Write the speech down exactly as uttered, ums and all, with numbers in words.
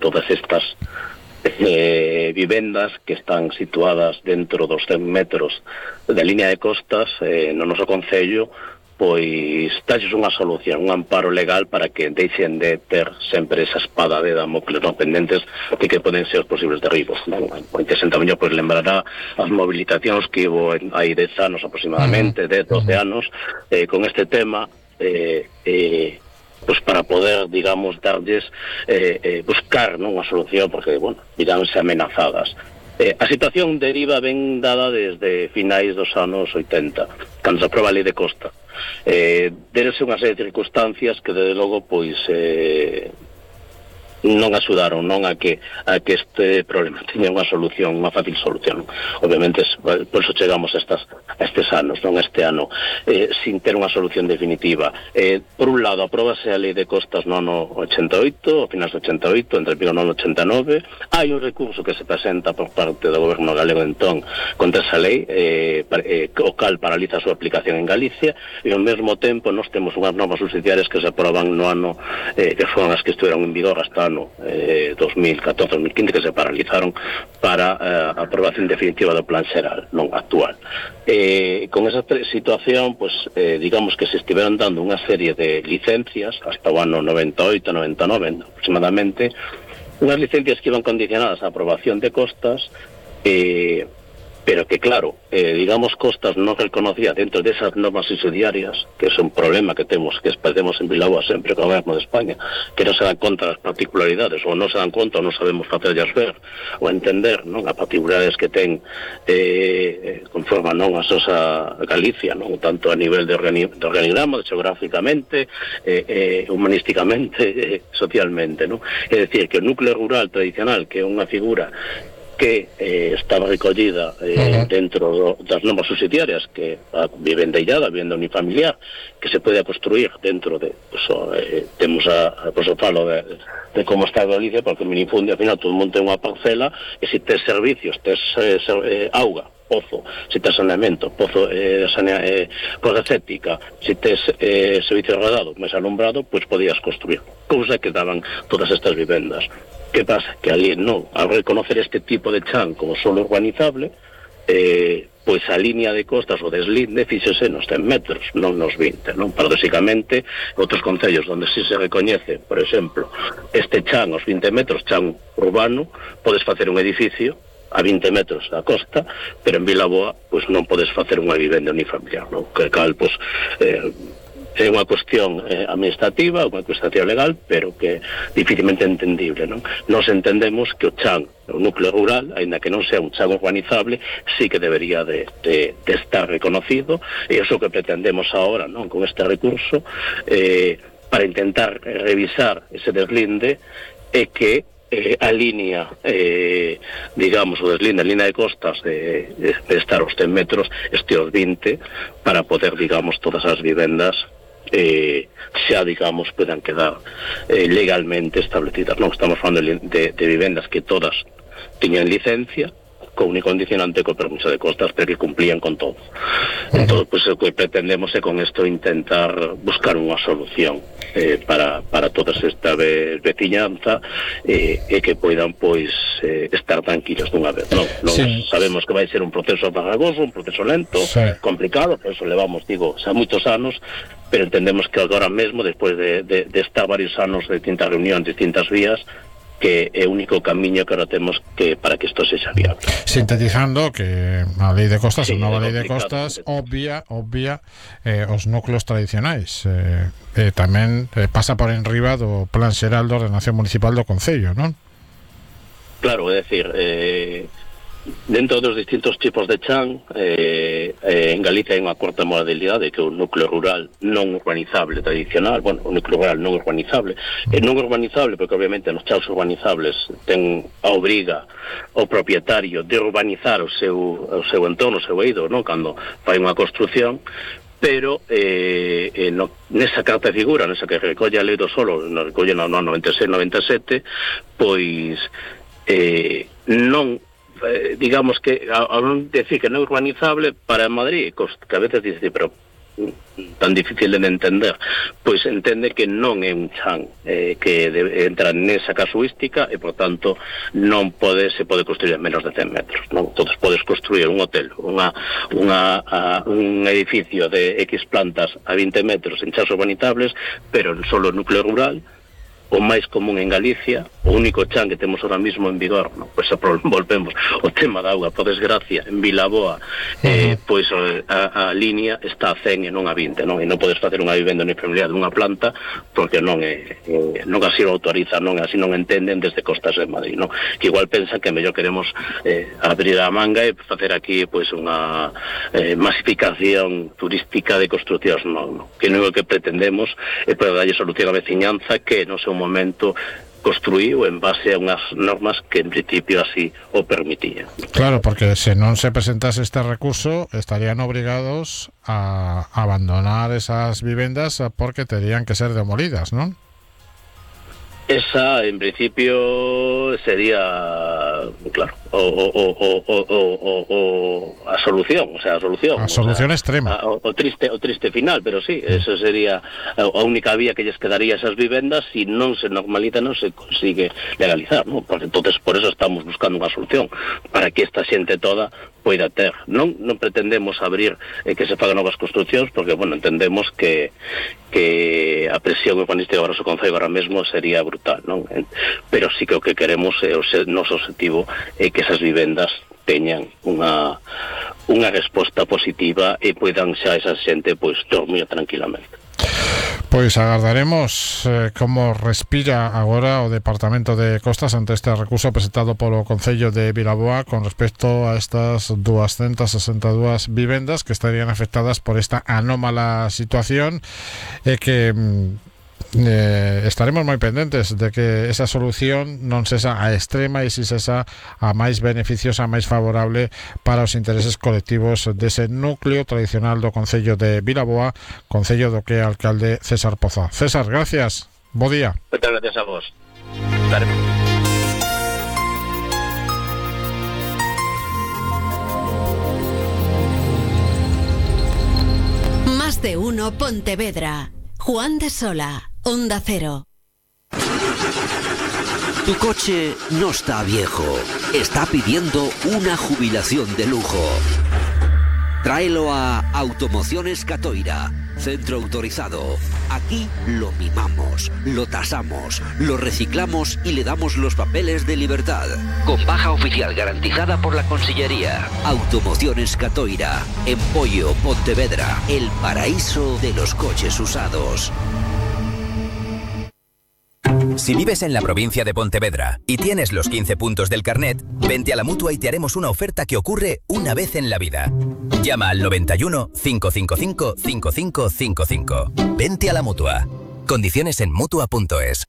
todas estas eh, vivendas que están situadas dentro dos cen metros da línea de costas eh, no noso concello, pois talles unha solución, un amparo legal para que deixen de ter sempre esa espada de Damocles non pendentes de que poden ser os posibles derribos. O interesante mellor pois lembrará as mobilizacións que hubo hai dez anos aproximadamente, dez, doce anos, eh, con este tema, eh, eh, pues para poder, digamos, darlles eh, eh, buscar, non, unha solución, porque, bueno, miranse amenazadas. Eh, a situación deriva ben dada desde finais dos anos oitenta, cando se aproba a lei de costa. Eh, derese unha serie de circunstancias que, desde logo, pois... Eh, non axudaron non a que a que este problema tiña unha solución, unha fácil solución. Obviamente, por eso chegamos a, estas, a estes anos, non este ano, eh, sin ter unha solución definitiva. Eh, por un lado, apróbase a lei de costas no ano ochenta e oito, ao finais do ochenta e oito, entre o no ano ochenta e nove. Hai un recurso que se presenta por parte do goberno galego entón contra esa lei, eh, eh, o cal paraliza a súa aplicación en Galicia, e ao mesmo tempo nós temos unhas normas subsidiarias que se aproban no ano eh, que foron as que estiveron en vigor hasta ano eh, dos mil catorce dos mil quince, que se paralizaron para eh, a aprobación definitiva do plan xeral non actual. Eh, con esa situación, pues, eh, digamos que se estiveron dando unha serie de licencias hasta o ano noventa e oito noventa e nove aproximadamente, unhas licencias que iban condicionadas á aprobación de costas, eh, pero que, claro, eh, digamos, costas non reconocía dentro desas normas subsidiarias, que é un problema que temos, que perdemos en Vilaboa sempre co goberno de España, que non se dan conta das particularidades, ou non se dan conta ou non sabemos facerllas ver, ou entender, non, as particularidades que ten eh, conforma, non, a Sosa Galicia, non, tanto a nivel de, organi de organigrama, geográficamente, eh, eh, humanísticamente, eh, socialmente, non? É dicir, que o núcleo rural tradicional, que é unha figura que eh, estaba recollida eh, uh-huh. dentro do, das normas subsidiarias, que a vivenda illada, vivenda unifamiliar, que se pode construir dentro de, pues, eh, temos a, pues, o falo de, de como está Galicia, porque o minifundio, al final, todo o mundo ten unha parcela, e se tes servicios, tes eh, eh, auga, pozo, se tes saneamento, pozo eh, sanea, eh, cosa cética, se tes eh, servicio rodado, máis alumbrado, pois pues, podías construir. Cousa que daban todas estas vivendas. Que pasa? Que ali, non, ao reconocer este tipo de chan como solo urbanizable, eh, pois a línea de costas, o deslinde, fíxese nos cen metros, non nos vinte, non? Paradóxicamente, outros concellos onde si se recoñece, por exemplo, este chan, os vinte metros, chan urbano, podes facer un edificio a vinte metros da costa, pero en Vilaboa, pois non podes facer unha vivenda unifamiliar, non? Que cal, pois, eh, é unha cuestión eh, administrativa, unha cuestión legal, pero que dificilmente entendible, non? Nos entendemos que o chan, o núcleo rural, aínda que non sea un chan urbanizable, sí que debería de, de, de estar reconocido, e iso que pretendemos ahora, non? Con este recurso, eh, para intentar revisar ese deslinde, é que Eh, a línea, eh, digamos, o deslinde, a línea de costas de, de, de estar aos cen metros, este aos vinte, para poder, digamos, todas as vivendas eh, xa, digamos, puedan quedar eh, legalmente establecidas. Non estamos falando de, de, de vivendas que todas tiñan licencia, con un condicionante co permiso de costas, pero que cumplían con todo. Entón, pues, o que pretendemos é con isto intentar buscar unha solución eh, para, para toda esta veciñanza eh, e que poidan, pois, eh, estar tranquilos dunha vez. Non, non sí. Sabemos que vai ser un proceso farragoso, un proceso lento, sí. complicado, por eso levamos, digo, xa moitos anos, pero entendemos que agora mesmo, despois de, de, de estar varios anos de distintas reunións, distintas vías, que é o único camiño que ahora temos que para que isto sexa viable. Sintetizando que a lei de costas, sí, a nova lei de costas obvia, obvia eh, os núcleos tradicionais, eh, eh, tamén eh, pasa por enriba do plan xeral de ordenación municipal do concello, non? Claro, é dicir, eh, dentro dos distintos tipos de chan, eh, eh, en Galicia hai unha cuarta modalidade, que é o núcleo rural non urbanizable tradicional, bueno, o núcleo rural non urbanizable, e non urbanizable porque obviamente nos chans urbanizables ten a obriga o propietario de urbanizar o seu, o seu entorno, o seu eido, non? Cando fai unha construción, pero eh, eh, no, nesa carta de figura, nesa que recolle a lei do solo, no recolle no ano noventa e seis noventa e sete, pois eh, non Eh, digamos que a, a non decir que non é urbanizable para Madrid, que a veces dice, pero tan difícil de entender, pois entende que non é un chan eh, que debe, entra nesa casuística e, por tanto, non pode se pode construir en menos de cen metros, non? Entón, podes construir un hotel, unha, unha, a, un edificio de X plantas a vinte metros en chas urbanitables, pero en solo núcleo rural, o máis común en Galicia, o único chan que temos ahora mismo en vigor, no? Pois volvemos o tema da auga, por desgracia, en Vilaboa, eh, pois a, a línea está a cen e non a vinte, non? E non podes facer unha vivenda unifamiliar dunha planta porque non é, eh, non así o autoriza, non así non entenden desde Costas de Madrid, non? Que igual pensan que mellor queremos eh, abrir a manga e facer aquí pois unha eh, masificación turística de construccións, non, non? Que non é o que pretendemos é para darlle solución á veciñanza que non sei momento construíu en base a unhas normas que en principio así o permitían. Claro, porque se non se presentase este recurso estarían obrigados a abandonar esas vivendas porque terían que ser demolidas, ¿non? Esa, en principio, sería, claro, o, o, o, o, o, o a solución, o sea, a solución. A solución o sea, extrema. A, o, o triste o triste final, pero sí, mm. eso sería a, a única vía que lles quedaría esas vivendas si non se normaliza, non se consigue legalizar, ¿no? Porque entonces por eso estamos buscando unha solución, para que esta xente toda poida ter. Non non pretendemos abrir eh, que se fagan novas construccións, porque, bueno, entendemos que que a presión urbanística do noso concello ahora mesmo sería brutal, non? Pero sí que o que queremos é o noso objetivo é que esas vivendas teñan unha unha resposta positiva e poidan xa esa xente pois dormir tranquilamente. Pois agardaremos eh, como respira agora o Departamento de Costas ante este recurso presentado polo Concello de Vilaboa con respecto a estas doscientas sesenta e dúas vivendas que estarían afectadas por esta anómala situación e eh, que eh, estaremos moi pendentes de que esa solución non sexa a extrema e si sexa a máis beneficiosa, a máis favorable para os intereses colectivos dese núcleo tradicional do Concello de Vilaboa, Concello do que é alcalde César Poza. César, gracias, bo día. Muchas gracias a vos. Daremos. Más de uno Pontevedra. Juan de Sola, Onda Cero. Tu coche no está viejo, está pidiendo una jubilación de lujo. Tráelo a Automociones Catoira, centro autorizado. Aquí lo mimamos, lo tasamos, lo reciclamos y le damos los papeles de libertad. Con baja oficial garantizada por la Consellería. Automociones Catoira, en Pollo, Pontevedra, el paraíso de los coches usados. Si vives en la provincia de Pontevedra y tienes los quince puntos del carnet, vente a la Mutua y te haremos una oferta que ocurre una vez en la vida. Llama al noventa y uno, cinco cinco cinco, cinco cinco cinco cinco. Vente a la Mutua. Condiciones en Mutua punto es.